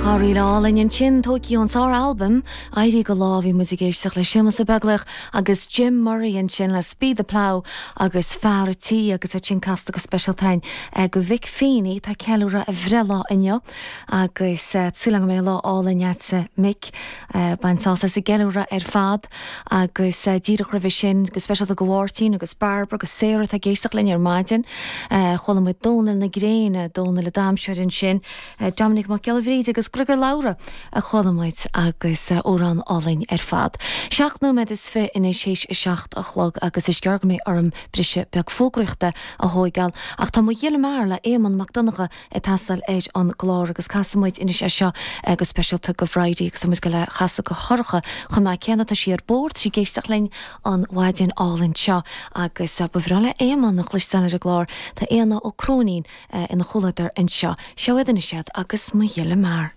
Tá ríl álainn ansin, tógtha ón sár-albam Éirí go Lá. Bhí muid ag éisteacht le Séamus Ó Beaglaoich agus Jim Murray ansin le Speed the Plough agus Fear a' Tí agus iad sin casta go speisialta againn do Mhick Feeney atá ag ceiliúradh a bhreithlá inniu agus súil agam go mbeidh lá álainn agatsa Mick. Bain sásamh as an gceiliúradh ar fad agus díreach roimhe sin, go speisialta do Mháirtín agus Barbara agus Sarah atá ag éisteacht linn ar maidin, chuala muid Dónal na Gréine, Dónal an Daimseoir ansin, Dominic Mac Giolla Bhríde agus Griogair Labhruidh a chuala muid agus amhrán álainn ar fad. 7 nóiméad is 20 anois théis a 7 a chlog agus is gearr go mbeidh orm briseadh beag fógraíochta a thóigeáil ach tá mo ghiolla mear le Éamonn Mac Donncha ag teastáil ar an gclár agus casfaidh muid anois é seo go speisialta do Bhridie agus tá muid ag goil é a chasadh do Shorcha chomh maith céanna. Tá sí ar bord, tá sí ag éisteacht linn an mhaidin álainn seo agus ba bhreá le Éamonn a chloisteáil ar an gclár. Tá Éanna Ó Cróinín ina chomhluadar anseo. Seo iad anois iad agus Mo Ghiolla Mear.